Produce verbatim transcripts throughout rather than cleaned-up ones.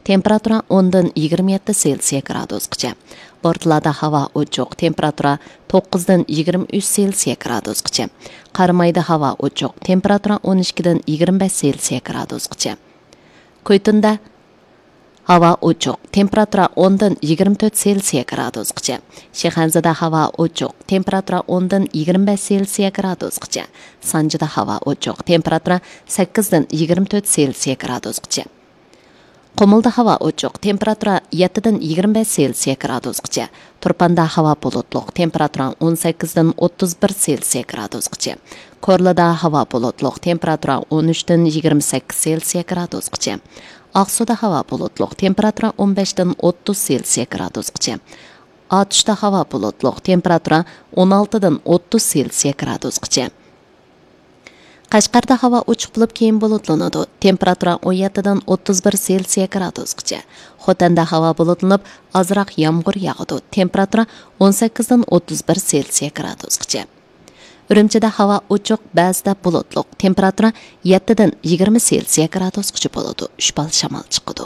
تېمپېراتۇرا ئوندىن يىگىرمە يەتتە سېلسىيە گرادۇسقىچە. بورتالادا ھاۋا ئوچۇق، تېمپېراتۇرا توققۇزدىن يىگىرمە ئۈچ سېلسىيە گرادۇسقىچە. قارامايدا ھاۋا ئوچۇق، تېمپېراتۇرا ئون ئىككىدىن يىگىرمە بەش سېلسىيە گرادۇسقىچە. كۇيتۇندا ھاۋا ئوچۇق، تېمپېراتۇرا ئوندىن يىگىرمە تۆت سېلسىيە گرادۇسقىچە. شىخەنزىدە ھاۋا ئوچۇق، تېمپېراتۇرا ئوندىن يىگىرمە بەش سېلسىيە گرادۇسقىچە. سانجىدا ھاۋا ئوچۇق، تېمپېراتۇرا سەككىزدىن يىگىرمە تۆت سېلسىيە گرادۇسقىچە. قۇمۇلدا ھاۋا ئوچۇق، تېمپېراتۇرا يەتتىدىن يىگىرمە بەش سېلسىيە گرادۇسقىچە. تۇرپاندا ھاۋا بۇلۇتلۇق، تېمپېراتۇرا ئون سەككىزدىن ئوتتۇز بىر سېلسىيە گرادۇسقىچە. كورلىدا ھاۋا بۇلۇتلۇق، تېمپېراتۇرا ئون ئۈچتىن يىگىرمە سەككىز سېلسىيە گرادۇسقىچە. ئاقسۇدا ھاۋا بۇلۇتلۇق، تېمپېراتۇرا ئون بەشتىن ئوتتۇز سېلسىيە گرادۇسقىچە. ئاتۇشتا ھاۋا بۇلۇتلۇق، تېمپېراتۇرا ئون ئالتىدىن ئوتتۇز سېلسىيە گرادۇسقىچە. قەشقەردە ھاۋا ئوچۇق بولۇپ، كېيىن بۇلۇتلىنىدۇ. تېمپېراتۇرا ئون يەتتىدىن ئوتتۇز بىر سېلسىيە گرادۇسقىچە. خوتەندە ھاۋا بۇلۇتلىنىپ، ئازراق يامغۇر ياغىدۇ. تېمپېراتۇرا ئون سەككىزدىن ئوتتۇز بىر سېلسىيە گرادۇسقىچە. ئۈرۈمچىدە ھاۋا ئوچۇق، بەزىدە بۇلۇتلۇق. تېمپېراتۇرا يەتتىدىن يىگىرمە سېلسىيە گرادۇسقىچە بولىدۇ. ئۈچ بال شامال چىقىدۇ.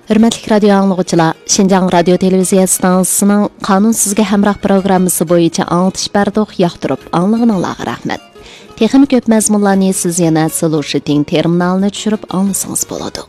ھۆرمەتلىك رادىيو ئاڭلىغۇچىلار، شىنجاڭ رادىيو تېلېۋىزىيە ئىستانسىسىنىڭ قانۇن سىزگە ھەمراھ پروگراممىسى بويىچە ئاڭلىتىش بەردۇق، ياقتۇرۇپ ئاڭلىغىنىڭلارغا رەھمەت. تېخىمۇ كۆپ مەزمۇنلارنى سىز يەنە سلۇشىتىڭ تېرمىنالىنى چۈشۈرۈپ ئاڭلىسىڭىز بولىدۇ.